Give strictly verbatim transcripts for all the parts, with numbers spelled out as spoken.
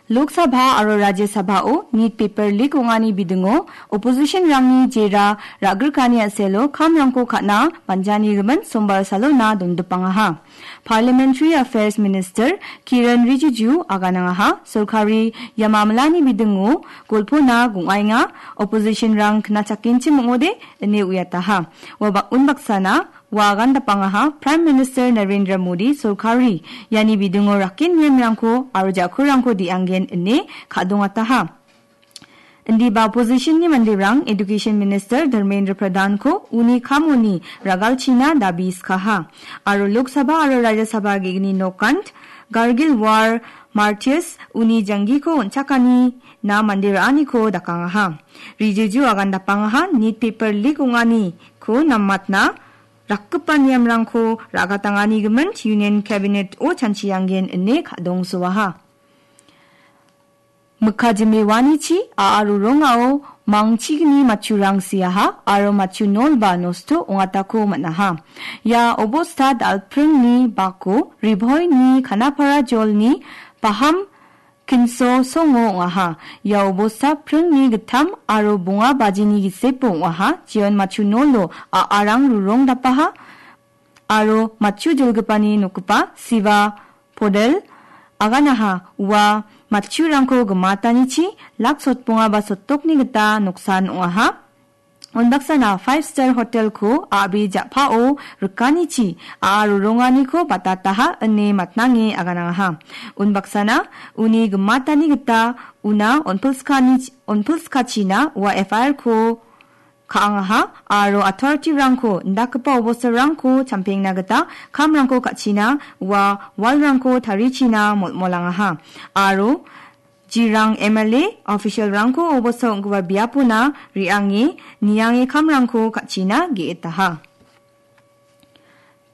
Lok Sabha aro Rajya Sabhao nit paper leak ong·ani bidingo opposition-rangni jera ra·grikani a·selo kamrangko ka·na banjanigimin Sombar salona dondipangaha. Parliamentary Affairs Minister Kiren Rijiju aganangaha, sorkari ia mamalani bidingo golpona gong·aenga, opposition-rang knachakenchim ong·ode ine uiataha. Ua ba-, unbaksana ua agandapangaha, Prime Minister Narendra Modi sorkari iani bidingo rakken niamrangko aro jakurangko de·anggen ine ka·dongataha. Indiba opposition-ni manderang Education Minister Dharmendra Pradhan-ko uni kamoni ragalchina dabi skaha. Aro Lok Sabha aro Rajya Sabha ge·gni nokant Kargil War Martyrs uni janggiko on·chakanina mande ra·aniko dakangaha. Rijiju agandapangaha, nit paper leak ong·aniko namatna rakgipa niamrangko ra·gatanganigimin Union Cabinet-o chanchianggen ine ka·dongsoaha. Mikka jime uanichi a·a rorongao mangchigni matchurang siaha aro matchu nolba nosto ong·atako man·aha. Ia obosta dal·pringni bako Riboini Kanapara jolni Baham Kinso songo ong·aha. Ia obosta pringni gittam aro bonga bajini gisepo ong·aha. Jeon matchu nolo a·arang rorong dapaha aro matchu jilgipani nokgipa Siva Podel aganaha. Ua matchurangko gimatanichi lak sotbonga ba sotdokni gita noksan ong·aha. Unbaksana five star hotel-ko a·bri ja·pao rikanichi a·a roronganiko batataha ine matnange aganangaha. Unbaksana uni gimatani gita una onpilskani-, onpilskachina ua F I R-ko ka·angaha aro authority-rangko indakgipa obostarangko champengna gita kamrangko ka·china ua wall-rangko tarichina molmolangaha. Aro Jirang M L A official-rangko obosta ong·gipa biapona re·ange niange kamrangko ka·china ge·etaha.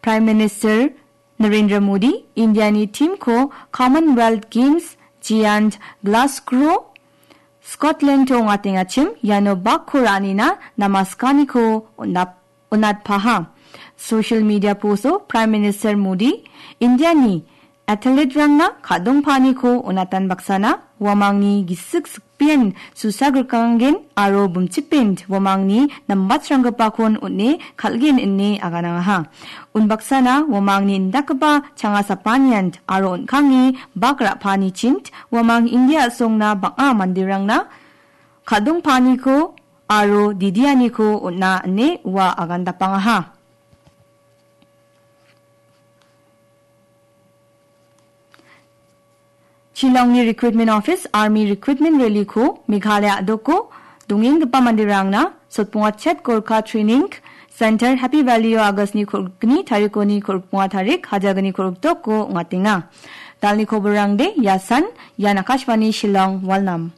Prime Minister Narendra Modi Indiani team-ko Commonwealth Games Giant Glasgow, Scotland-o ong·atengachim iano bakko ra·anina namaskaniko on·ap-, on·atpaha. Social media post-o Prime Minister Modi Indiani athlete-rangna ka·dongpaaniko on·atan baksana, uamangni gisik sikben susa grikanggen aro bimchikben uamangni nambatsranggipakon on·e kal·gen ine aganangaha. Unbaksana uamangni indakgipa changa sapanian aro on·kange bak ra·paanichint uamang India a·songna bang·a manderangna ka·dongpaaniko aro didianiko on·a ine ua agandapangaha. Shillongni Recruitment Office Army Recruitment Rally-ko Meghalaya a·doko dongenggipa manderangna Sotbonga Chet Gorkha Training Center Happy Valley-o August-ni kolgni tarikoni kolbonga tarik, hajalgni kolgdoko ong·atenga. Dalni koborangde iasan, ian Akashvani Shillong, Walnam.